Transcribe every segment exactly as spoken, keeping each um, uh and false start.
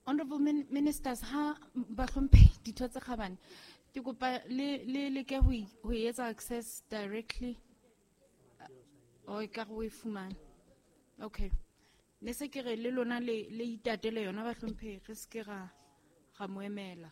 Honorable min Ministers, ha bahlomphehi ditho tse kgabane, ke kopa le le leke ho ho etsa access directly. O e ka re o e fumane. Okay. Ne se ke re le lona le le itatele yona bahlomphehi, re se ke ra ra mo emela.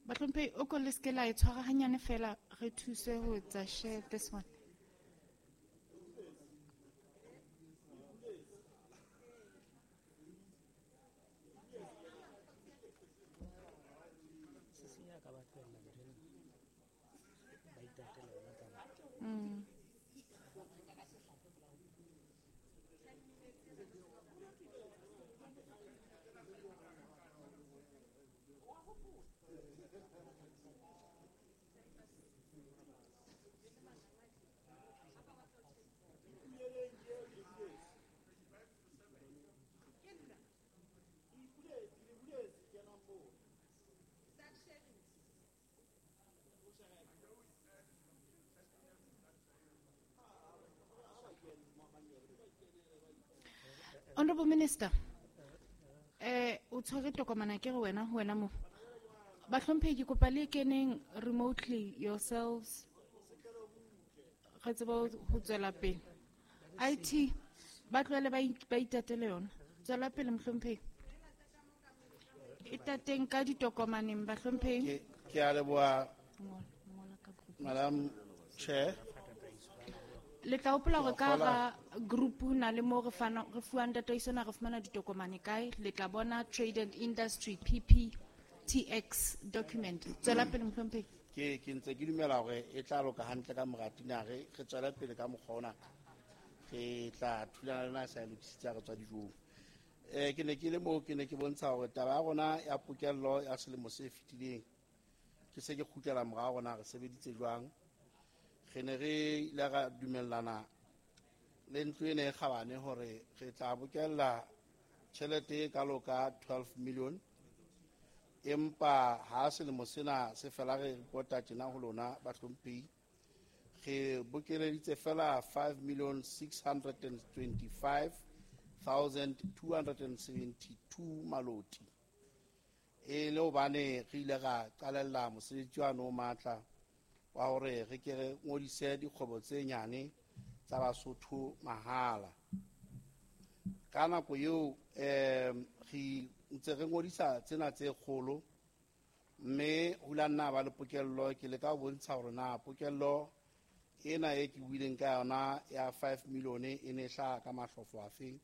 Bahlomphehi, o ko le se ke la e tshwara hanyane fela, re thuse ho etsa share this one. Mm. Honorable Minister, eh, o tshwere tokomane ke re wena, ho wena mo. Bahlomphehi, ke kopa le keneng remotely yourselves. Re tsebe ho tswela pele. I T, ba tlohele ba ba itatele yona. Tswela pele mohlomphehi. Itateng ka ditokomaneng bahlomphehi. Ke, ke a leboha, Madam Chair. Le tla hopola hore ka hara group ho na le moo re fana, re fuwang tataiso na re fumana ditokomane kae. Le tla bona Trade and Industry P P T X document. Tswela pele mohlomphehi. Ke, ke ntse ke dumela hore e tla loka hantle ka mora tina, re, re tswele pele ka mokgwa ona. Re tla thulana le na sa e lokisitse ha re tswa dijong. Eh, ke ne ke le moo, ke ne ke bontsha hore taba ya rona ya pokello ya selemo se fetileng, ke se ke kgutlela morao rona re sebeditse jwang. Re ne re ile ra dumellana le ntlo ena e kgabane hore re tla bokella tjhelete e kalo ka twelve million, empa ha selemo sena se fela re repota tjena ho lona bahlomphehi, re bokeleditse fela five million six hundred and twenty-five thousand two hundred and seventy-two maloti. E le hobane re ile ra qalella mosebetsi wa no matla wa hore re ke re ngodise dikgwebo tse nyane tsa Basotho mahala. Ka nako eo, eh, re ntse re ngodisa tsena tse kgolo, mme ho la nna ba le pokello. Ke leka ho bontsha hore na pokello ena e ke buileng ka yona ya five million e ne hlaha ka mahlofo afeng.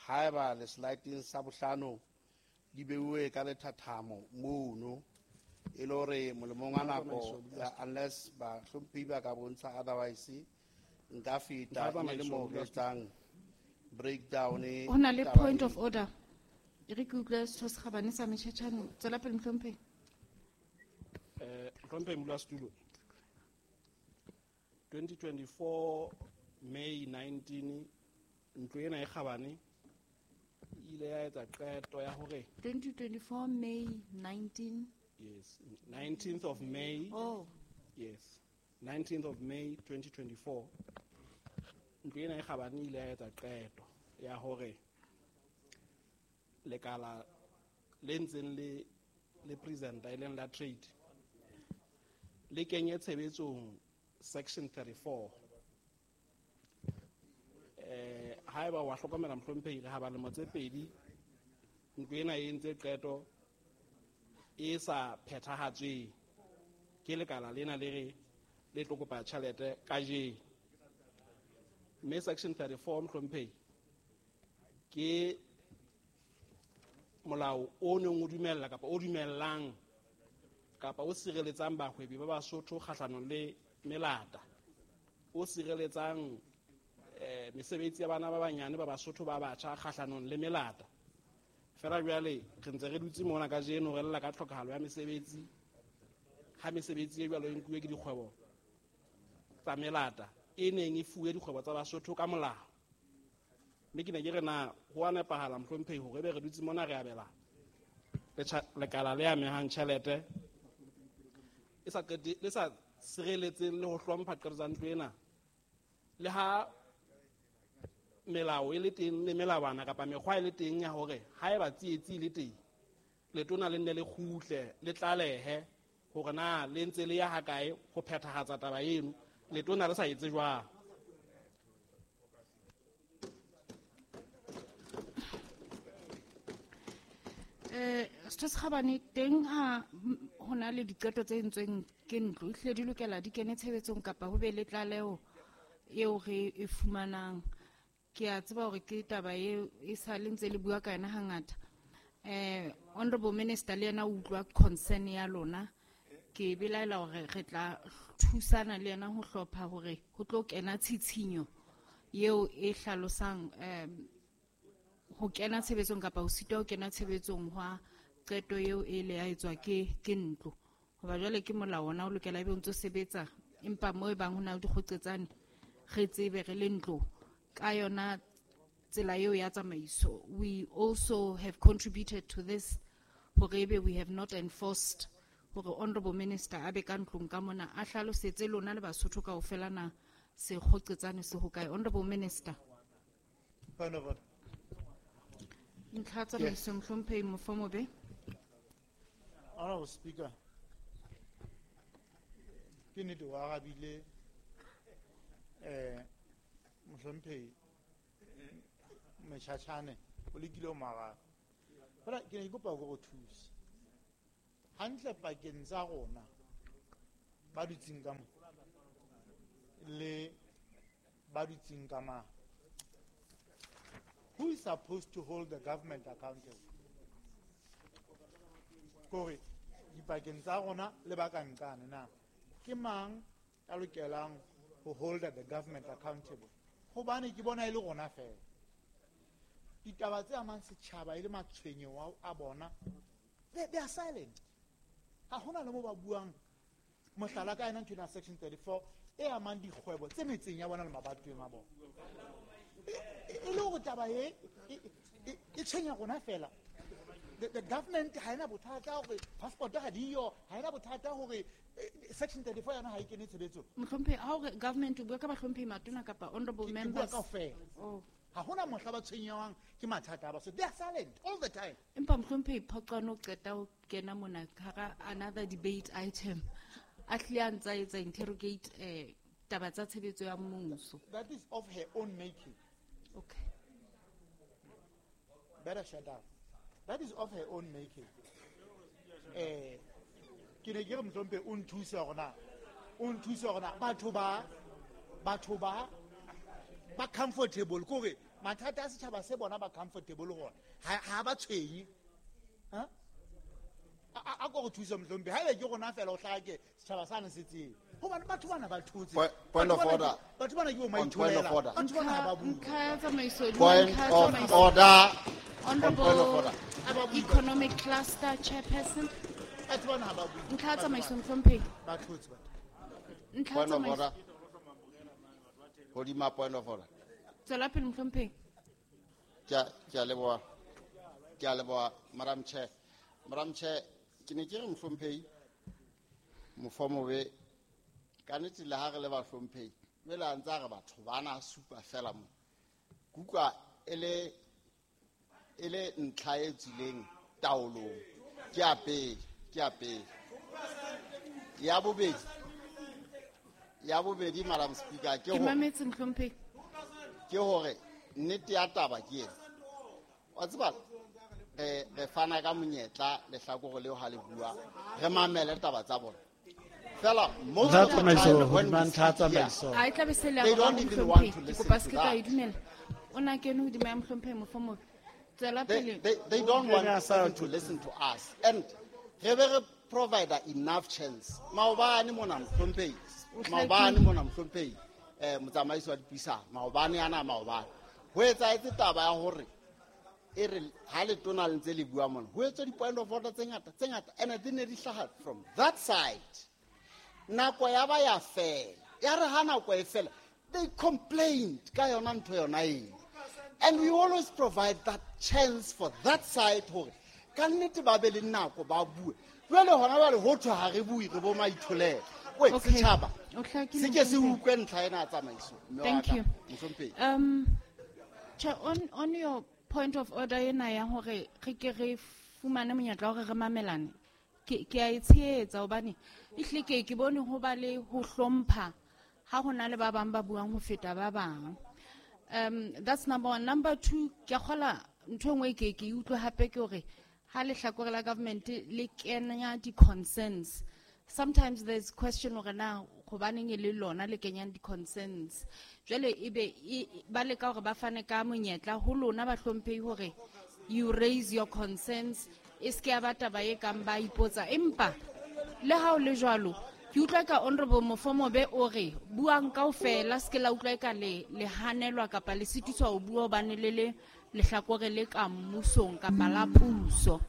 Haeba le slideng sa bohlano di beuwe ka lethathamo mono, e le hore molemong wa nako, unless bahlomphehi ba ka bontsha otherwise, nka feta e le moo re etsang breakdown. Ho na le point of order. E re ke utlwe setho se kgabane sa Motjhetjhane. Tswela pele mohlomphehi. Eh, mohlomphehi modulasetulo, twenty twenty-four May nineteen, ntlo ena e kgabane e ile ya etsa qeto ya hore twenty twenty-four May nineteen. Yes, nineteenth of May. Oh. Yes, nineteenth of May twenty twenty-four. Ntlo ena e kgabane e ile ya etsa qeto ya hore lekala le ntseng le, le presenta e leng la trade le kenye tshebetsong section thirty-four. Eh, haeba wa hlokomela mohlomphehi, re ha ba lemo tse pedi ntlo ena e entse qeto e sa phethahatsweng ke lekala lena le re le tlo kopa tjhelete kajeno. Mme section thirty-four mohlomphehi ke molao o neng o dumella kapa o dumellang kapa o sireletsang bahwebi ba Basotho kgahlanong le melata, o sireletsang, eh, mesebetsi ya bana ba banyane ba Basotho ba batjha kgahlanong le melata. Fela jwale re ntse re dutse mona kajeno re lla ka tlhokahalo ya mesebetsi, ha mesebetsi e jwalo e nkuwe ke dikgwebo tsa melata e neng e fuwe dikgwebo tsa Basotho ka molao. Mme ke ne ke re na ho a nepahala mohlomphehi hore ebe re dutse mona re abela lekala le amehang tjhelete e sa qete le sa sireletseng le ho hlompha qeto tsa ntlo ena, le ha melao e le teng le melawana kapa mekgwa e le teng ya hore haeba tsietsi e le teng letona le nne le kgutle le tlalehe hore na le ntse le ya hakae ho phethahatsa taba eno, letona le sa etse jwang. Eh, Setho se Kgabane, teng ha ho na le diqeto tse entsweng ke ntlo, ehlile di lokela di kene tshebetsong kapa ho be le tlaleho eo re e fumanang. Ke a tseba hore ke taba eo e sa le ntse le bua ka yona hangata. Eh, Honorable Minister le yena o utlwa concern ya lona. Ke belaela hore re tla thusana le yena ho hlopha hore ho tlo kena tshitshinyo eo e hlalosang eh ho kena tshebetsong kapa ho sitwa ho kena tshebetsong hwa qeto eo e le ya etswa ke ke ntlo. Hoba jwale ke molao ona o lokela ebe o ntso sebetsa, empa mo e bang ho na le dikgoqetsane re tsebe re le ntlo ka yona tsela eo ya tsamaiso. We also have contributed to this hore ebe we have not enforced hore Honorable Minister a be ka ntlong ka mona a hlalosetse lona le Basotho kaofela na sekgoqetsane se hokae. Honorable Minister. Point of order. Ntlha tsamaiso mohlomphehi Mofomobe. Honorable Speaker, ke nnete o arabile eh mohlomphehi Motjhatjhane o lekile ho mo araba. Fela ke ne ke kopa hore o thuse. Hantle pakeng tsa rona ba dutseng ka mo le ba dutseng ka mane, who is supposed to hold the government accountable? Kore dipakeng tsa rona le ba ka nqane na ke mang ya lokelang ho hold the government accountable? Hobane ke bona e le rona fela. Ditaba tse amang setjhaba e le matshwenyeho a bona, they, they are silent. Ha hona le mo ba buang. Mohlala ka ena ntho ena section thirty-four e amang dikgwebo tse metseng ya bona le mabatoweng a bona. E le hore taba e e tshwenya rona fela. The, the government ha ena bothata hore passport ha diyo, ha ena bothata hore section thirty-four yona ha e kene tshebetsong. Mohlomphehi, ha hore government o bua ka bahlomphehi matona kapa honorable members. Ke bua kaofela. Oh. Ha hona mohla ba tshwenyewang ke mathata a Basotho. They are silent all the time. Empa mohlomphehi Phoqwane o qeta ho kena mona hara another debate item. A hlile a ntsa etsa interrogate eh taba tsa tshebetso ya mmuso. That is of her own making. Okay. Better shut up. That is of her own making. Eh, ke ne ke re mohlomphehi o nthuse hore na, o nthuse hore na batho ba, batho ba, ba comfortable kore mathata a setjhaba se bona ba comfortable hore ha, ha ba tshwenye. Ha? A ko re thuse mohlomphehi. Haeba ke rona fela o hlake setjhaba sane se tsebe. Hobane batho bana ba thotse. Point of order. Batho bana ke bo On point of maitholela. order. Batho bana ha ba bue. Ntlha ya tsamaiso, Point ntlha ya of tsamaiso. order. Honorable Point of order. Economic Cluster Chairperson. Batho bana ha ba bue. Ntlha ya tsamaiso mohlomphehi. Ba thotse batho. Ntlha ya Point of tsamaiso. order. Hodima point of order. Tswela pele mohlomphehi. Ke a, ke a leboha. Ke a leboha, Madam Chair. Madam Chair, ke ne ke re mohlomphehi Mofomobe, ka nnete le ha re le bahlomphehi, jwale a ntse a re batho bana supa fela mo. Ke utlwa e le, e le ntlha e tswileng taolong. Ke ya pele, ke ya pele. Ya bobedi, ya bobedi, Madam Speaker, ke Ke hore mametse mohlomphehi. ke hore nnete ya taba ke ena. Wa tseba, re, re fana ka monyetla lehlakore leo ha le bua, re mamele taba tsa bona. Fela, most of the time when we sit here, A e tla be se le ya they boraro, don't even want mohlomphehi. to Ke listen kopa to se ke ka e that. dumela. O na kene hodima ya mohlomphehi Mofomobe. Tswela They, pele. they, they don't want Kenya sa even to listen to us. And re be re provide enough chance. Maobane mona mohlomphehi, O hlakile. maobane mona mohlomphehi, eh, motsamaisi wa dipuisano, maobane ana maobane. Ho etsahetse taba ya hore e re ha letona le ntse le bua mona, ho etswa di-point of order tse ngata, tse ngata, and di ne di hlaha from that side. Nako ya ba ya fela. Ya re ha nako e fela, They complained ka yona ntho yona eo. And we always provide that chance for that side hore ka nnete ba be le nako ba bue. Jwale hona jwale ho thwe ha re bue, re bo maitholelo. Wait, Okay. setjhaba, O hlakile, se ke se Mohlomphehi. utlwe ntlha ena ya tsamaiso, mme wa Thank ka, you. Mohlomphehi. Um, Chair, on, on your point of order ena ya hore re ke re fumane monyetla wa hore re mamelane, ke, ke a e tshehetsa hobane ehlile ke, ke bone ho ba le ho hlompha ha ho na le ba bang ba buang ho feta ba bang. Um, that's number one. Number two, ke a kgola ntho e nngwe ke, ke e utlwe hape ke hore ha lehlakore la government le kenya di-concerns, sometimes there's question hore na hobaneng e le lona le kenyang di-concerns. Jwale ebe e, ba leka hore ba fane ka monyetla ho lona bahlomphehi hore you raise your concerns, e se ke ya ba taba e kang ba ipotsa. Empa le ha o le jwalo, ke utlwa ka Honorable Mofomobe o re buang kaofela, se ke la utlwa eka le, le hanelwa kapa le sitiswa ho bua hobane le le lehlakore le ka mmusong kapa la puso.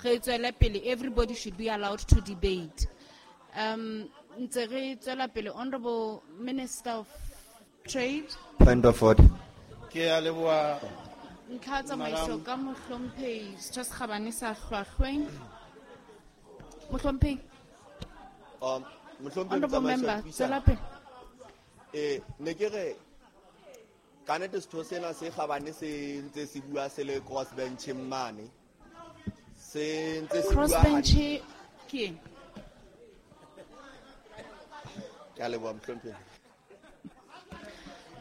Re tswele pele, everybody should be allowed to debate. Um, ntse re tswela pele, Honorable Minister of Trade. Point of order. Ke a leboha, Ntlha ya tsamaiso Madam. ka Mohlomphehi Setho se Kgabane sa Hlwahlweng. Mohlomphehi. Um, Mohlomphehi Honorable Motsamaiso wa Member, Puisano. tswela pele. Eh, ne ke re ka nnete setho sena se kgabane se ntse se bua se le cross bencheng mane. Se ntse se Cross bua bench hantle. ke eng? Ke a leboha, Mohlomphehi.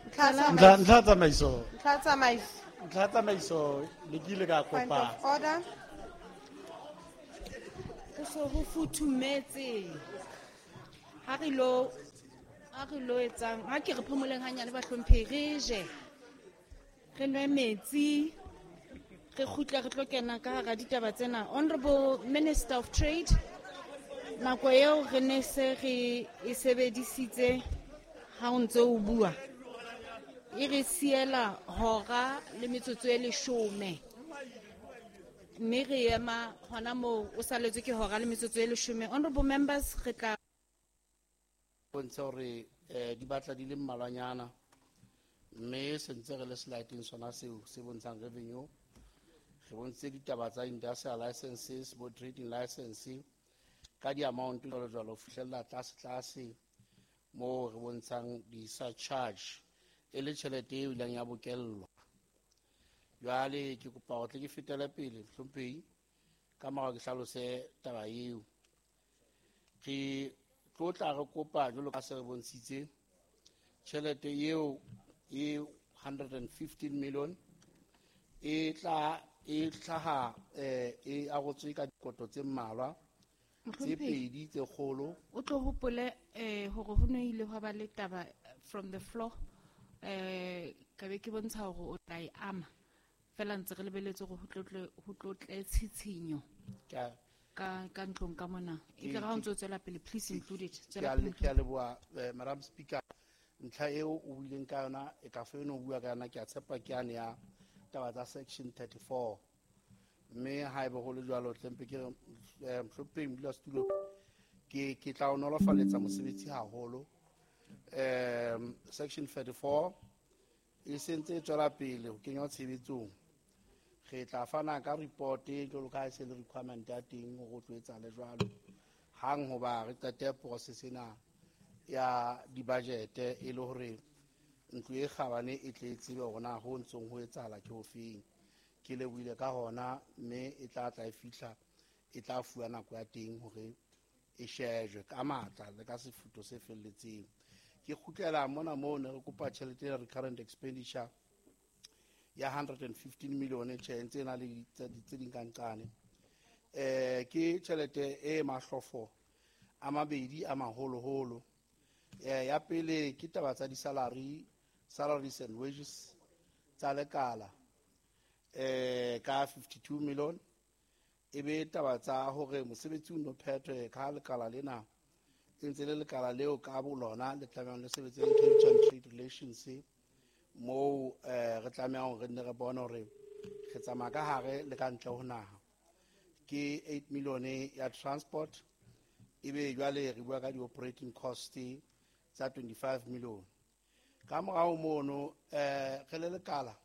Ntlha Ntlha, ntlha tsamaiso. Ntlha tsamaiso. Ntlha tsamaiso, le ke ile ka Point kopa. of order. Ho so ho futhumetse. Ha re lo, ha re lo etsang, ha ke re phomoleng hanyane bahlomphehi, re je. Re nwe metsi, re kgutle re tlo kena ka hara ditaba tsena. Honorable Minister of Trade, nako eo re ne se re e sebedisitse ha o ntse o bua. E re siela hora le metsotso e leshome. Mme re ema hona moo o saletswe ke hora le metsotso e leshome. Honorable members, re tla bontshe hore, eh, di batla di le mmalwanyana, mme se ntse re le slide-eng sona seo se bontshang revenue. Re bontshitse ditaba tsa industrial licenses, bo trading license ka di-amount jwalo jwalo ho fihlella tlase tlase moo re bontshang di-surcharge e le tjhelete eo ileng ya bokellwa. Jwale ke kopa hore tle ke fetele pele, Mohlomphehi, ka mora ke hlalose taba eo. Re tlo tla re kopa jwalo ka se re bontshitse tjhelete eo e hundred and fifteen million e tla, e hlaha, eh, e arotswe ka dikoto tse mmalwa tse Mohlomphehi, pedi tse kgolo. O tlo hopole, eh, hore ho no ile hwa ba le taba from the floor, eh, ka be ke bontsha hore o tla e ama. Fela ntse re lebeletse hore ho tlo tle, ho tlo tle tshitshinyo Ke a ka, ka ntlong ka mona. E Ke- tle ha o ke- ntso tswela pele, please include it. ke Tswela a pele, le-, ke a leboha, eh, Madam Speaker. Ntlha eo o buileng ka yona, e ka fa eno o bua ka yona, ke a tshepa ke yane ya taba tsa section thirty-four. Mme haeba ho le jwalo, tle mpe ke re, eh, Mohlomphehi Modulasetulo, ke, ke tla o nolofaletsa mosebetsi haholo. Em, section thirty-four e sentse e tswela pele ho kenywa tshebetsong. Re tla fana ka report jwalo ka ha e se le requirement ya teng hore o tlo etsahale jwalo. Hang hoba re qete process ena ya di-budget e le hore ntlo e kgabane e tle e tsebe hore na ho ntsong ho etsahala ke hofeng. Ke lebohile ka hona, mme e tla tla e fihla, e tla fuwa nako ya teng hore e shejwe ka matla le ka sefutho se felletseng. Ke kgutlela mona moo ne re kopa tjhelete ya recurrent expenditure ya hundred and fifteen million, tjhe, ntse e na le di-, tse di-, tse ding ka nqane. Eh, ke tjhelete e mahlofo a mabedi a maholoholo. Eh, ya pele ke taba tsa di-salary, salaries and wages tsa lekala, eh, ka fifty-two million. E be taba tsa hore mosebetsi o no phethwe ka lekala lena, e ntse le lekala leo ka bolona le tlamehang le sebetse le Cape Town Trade Relations, moo, eh, re tlamehang hore re nne re bone hore re tsamaya ka hare le ka ntle ho naha. Ke eight million ya transport, ebe jwale re bua ka di-operating cost tsa twenty-five million. Ka morao mono eh re le lekala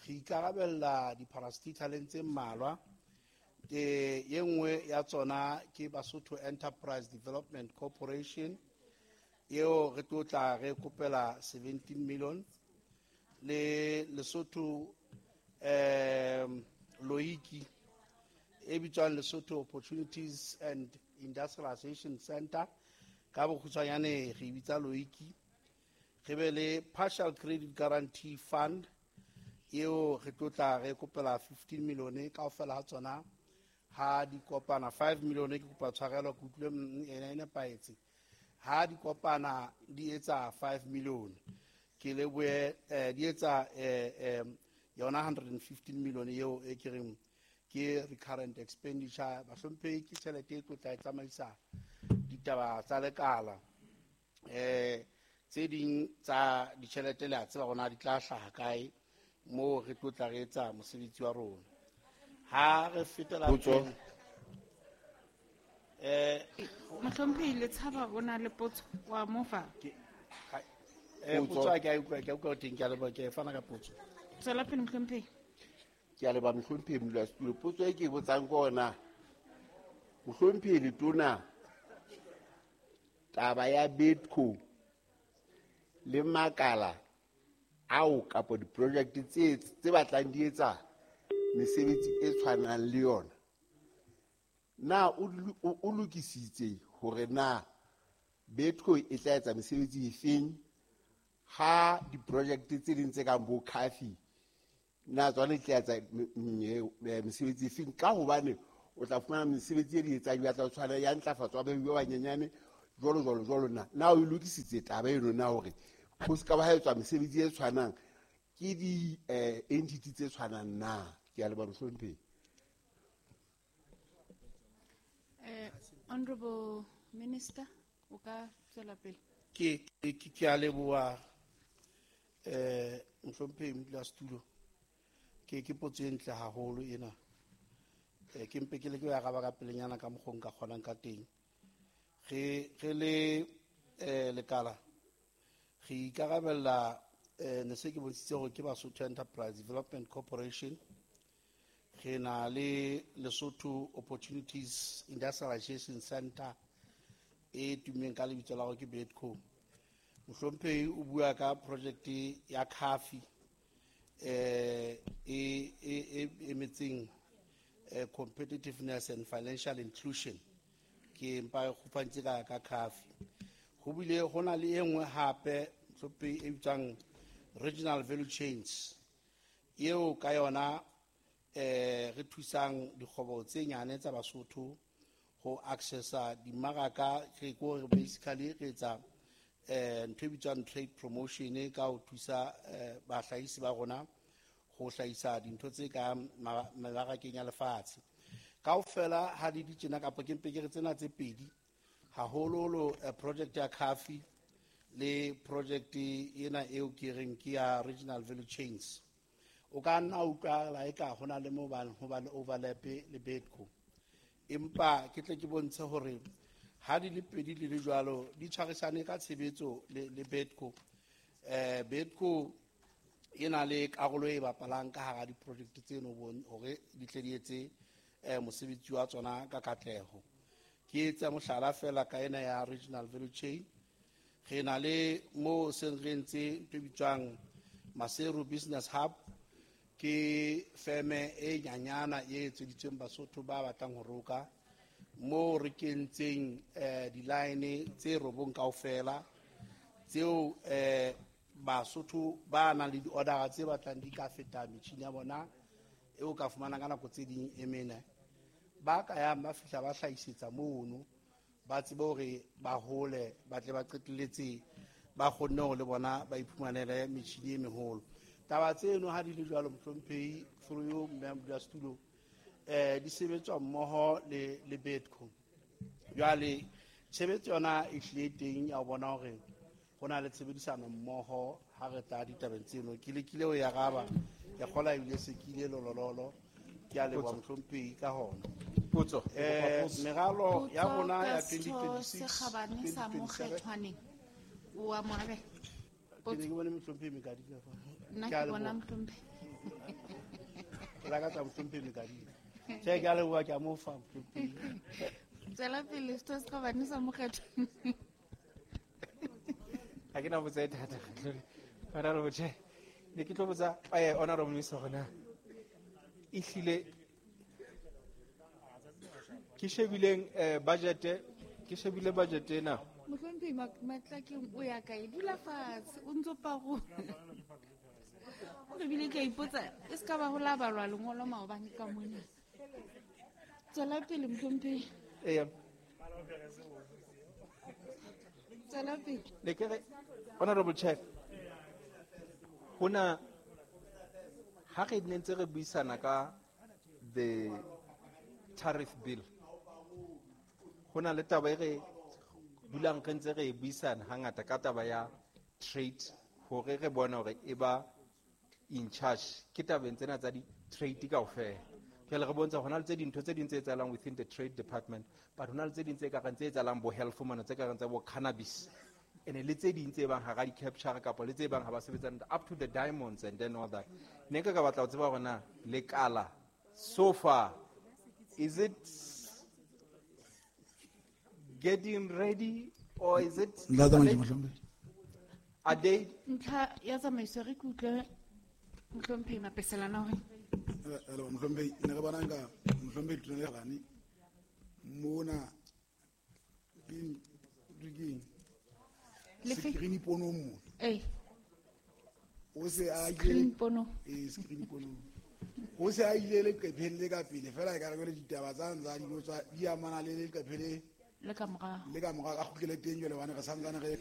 re ikarabella di-parastataleng tse mmalwa. E ye nngwe ya tsona ke Basotho Enterprise Development Corporation eo re tlo tla re kopela seventeen million, le Lesotho um Loiki e bitswang Lesotho Opportunities and Industrialization Center, ka bokgutshwanyane re e bitsa Loiki. Re be le Partial Credit Guarantee Fund eo re tlo tla re kopela fifteen million kaofela ha tsona ha di kopana five million ke kopa tshwarelo ke utlwile mm, ena e nepahetse. Ha di kopana di etsa five million, ke lebohe eh, di etsa eh, eh, yona hundred and fifteen million eo e ke reng ke recurrent expenditure. Bahlomphehi, ke tjhelete e tlo tla e tsamaisa ditaba tsa lekala. Eh, tse ding tsa ditjhelete le a tseba hore na di tla hlaha kae moo re tlo tla re etsa mosebetsi wa rona. Ha re fetela Potso. pele, eh, Mohlomphehi Letshaba o na le potso wa mofa. Ke, ha, eh, Potso. potso ha ke a utlwa, ke a utlwa teng, ke a leboha, ke fana ka potso. Tswela pele mohlomphehi. Ke a leboha mohlomphehi modulasetulo. Potso e ke e botsang ke ona, mohlomphehi Letona, taba ya Bedco le makala ao kapa di-project tse, tse batlang di etsa mesebetsi e tshwanang le yona, na o lo-, o, o lokisitse hore na Bedco e tla etsa mesebetsi efeng ha di-project tse ding tse kang bo Cafi na tsona di tla etsa me-, me-, me-, mesebetsi efeng? Ka hobane o tla fumana mesebetsi e di etsang ya tla tshwana ya ntlafatso ya bahwebi ba banyenyane jwalo jwalo jwalo. Na, na o e lokisitse taba eno na hore ho se ka ba ha etswa mesebetsi e tshwanang ke di, eh, entity tse tshwanang na? Ke a leboha mohlomphehi. Eh, Honorable Minister, o ka tswela pele. Ke, ke, ke, ke a leboha, eh, mohlomphehi modulasetulo. Ke, ke potso e ntle haholo ena. Eh, ke mpe ke leke ho araba ka pelenyana ka mokgwa o nka kgonang ka teng. Re, re le, eh, lekala re ikarabella, eh, ne se ke bontshitse hore ke Basotho Enterprise Development Corporation. Re na le Lesotho Opportunities Industrialization Center e tummeng ka lebitso la hore ke Bedco. Mohlomphehi o bua ka project ya Cafi, eh, e, e, e emetseng, eh, competitiveness and financial inclusion. Ke mpa e kgopantse ka, ka Cafi. Ho bile ho na le e nngwe hape mohlomphehi e bitswang Regional Value Chains, eo ka yona, eh, re thusang dikgwebo tse nyane tsa Basotho ho accessa dimmaraka. Re ko re basically re etsa, eh, ntho e bitswang trade promotion ka ho thusa, eh, bahlahisi ba rona ho hlahisa dintho tse ka ma-, mebarakeng ya lefatshe. Kaofela ha di di tjena, kapa ke mpe ke re tsena tse pedi, haholoholo, eh, project ya Cafi le project ena eo ke reng ke ya Regional Value Chains. O ka nna utlwa la eka ho na le moo ba, ho ba le overlap le Bedco. Empa ke tle ke bontshe hore ha di le pedi di le jwalo, di tshwarisane ka tshebetso le, le Bedco. Eh, Bedco e na le karolo e bapalang ka hara di-project tseno bon-, hore di tle di etse, eh, mosebetsi wa tsona ka katleho. Ke etsa mohlala fela ka ena ya Regional Value Chain. Re na le mo seng re ntse ntho e bitswang Maseru Business Hub, ke feme e nyanyana e etseditsweng Basotho ba batlang ho roka, mo re kentseng, eh, di-line tse robong kaofela tseo, eh, Basotho ba nang le di-order tse batlang di ka feta metjhini ya bona eo ka fumanang ka nako tse ding e mene, ba ka yang ba fihla ba hlahisetsa mono, ba tsebe hore ba hole, ba tle ba qetelletse ba kgonne hore le bona ba iphumanele metjhini e meholo. Taba tseno ha di le jwalo, mohlomphehi, through you, mme modulasetulo, eh, di sebetswa mmoho le, le Bedco. Jwale tshebetso yona e hlile teng ya ho bona hore ho na le tshebedisano mmoho ha re tla ditabeng tseno. Ke lekile ho e araba, ke kgolwa ebile se ke ile lolololo. Ke a leboha mohlomphehi ka hona. Potso. Eh, meralo ya Potso rona ya ka twenty setho twenty-six, se kgabane sa twenty twenty-seven. Mokgethwaneng. O a mo arabela. Ke ne ke bone mohlomphehi Mekadika fa. Nna Ke a ke bona leboha. mohlomphehi. Ke lakatsa mohlomphehi Mekadika. Tjhe, ke a leboha, ke a mo fa mohlomphehi. Tswela pele setho se kgabane sa mokgatlo. Ha ke na botsa e thata, Honorable Chair. Ne ke tlo botsa, eh, Honorable Minister hore na ehlile ke shebileng, eh, budget, ke shebile budget ena. Mohlomphehi Matlakeng o ya kae? Dula fatshe, o ntso parola. O re bile ke a ipotsa, e se ka ba ho la balwa lengolo maobane ka mona. Tswela pele mohlomphehi. Eya. Tswela pele. Ne ke re, Honorable Chair, hona ha re ne ntse re buisana ka the tariff bill, hona le taba e re dulang re ntse re e buisana hangata ka taba ya trade, hore re bone hore e ba in charge ke tabeng tsena tsa di-trade kaofela. Jwale re bontsha hona le tse dintho tse ding tse etsahalang within the trade department, but hona le tse ding tse ka reng tse etsahalang bo health mona, tse ka reng tsa bo cannabis, ene le tse ding tse bang hara di-capture kapa le tse bang ha ba sebetsana up to the diamonds and then all that. Ne nka ka batla ho tseba hore na lekala so far is it getting ready or is it Ntate Mantši, are they Ntlha ya tsamaiso re ke utlwe mohlomphehi Mapeselana hore Hello, mohlomphehi, ne re bona nka mohlomphehi Letona le Kgabane mona ke ke Lefe? Screen ponong mona. Eh. O se a ile Screen pono. Eh, screen ponong. O se a ile leqepheng le ka pele fela e ka re jwale ditaba tsa ntsa di tsa di amana le leqephe le Le ka morao. Le ka morao, a kgutlele teng jwale hobane re santsane re